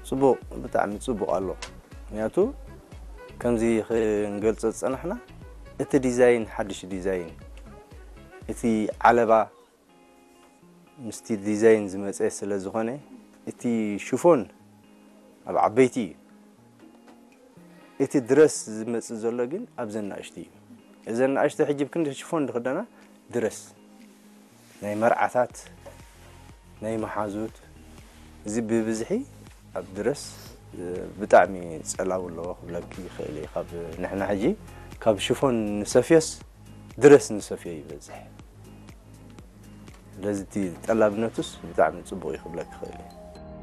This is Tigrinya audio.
ጽቡቕ፣ ብጣዕሚ ጽቡቕ ኣሎ። ምክንያቱ ከምዚ ክንገልጾ ዝጸናሕና፣ እቲ ዲዛይን፣ ሓድሽ ዲዛይን፣ እቲ ዓለባ ምስቲ ዲዛይን ዝመጸ ስለ ዝኾነ፣ እቲ ሽፎን ኣብ ዓበይቲ እዩ። እቲ ድረስ ዝመጽእ ዘሎ ግን ኣብዘን ንኣሽቱ እዩ። እዘን ንኣሽቱ ሕጂ ብክንዲ ሽፎን ዝኽደና ድረስ ናይ መርዓታት፣ ናይ መሓዙት፣ እዚ ብብዝሒ ኣብ ድረስ፣ እ፣ ብጣዕሚ ጸላው ኣለዎ ክብለኪ ይኽእል እየ። ካብ ንሕና ሕጂ ካብ ሽፎን ንሰፍዮስ ድረስ ንሰፍዮ ይበዝሕ። ስለዚ እቲ ጠላብነቱስ ብጣዕሚ ጽቡቕ እዩ ክብለኪ ይኽእል እየ።